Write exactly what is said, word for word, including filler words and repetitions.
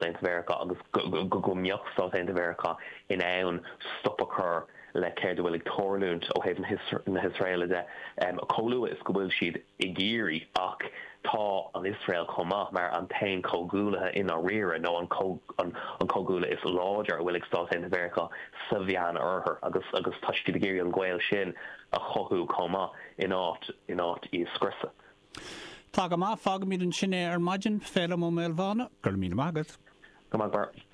Aontaithe Mheiriceá agus go mbeadh Stáit Aontaithe Mheiriceá in ann stop a chur le céard a bhfuil ag tarlúint ó thaobh na hIosraeile de chomh luath is go bhfuil siad ag iarraidh ach tá an Iosrael chomh maith mar an t-aon comhghuaillithe i ndáiríre nó an an comhghuaillí is láidir a bhfuil ag Stáit Aontaithe Mheiriceá sa Mheán Oirthear agus agus tá siad ag iarraidh an gaol sin a chothú chomh maith in áit in áit í a scriosadh. Tá go maith fágfaimid ansin é ar maidin Féilim Ó Maolmhána, go raibh míle maith agat. Go maith.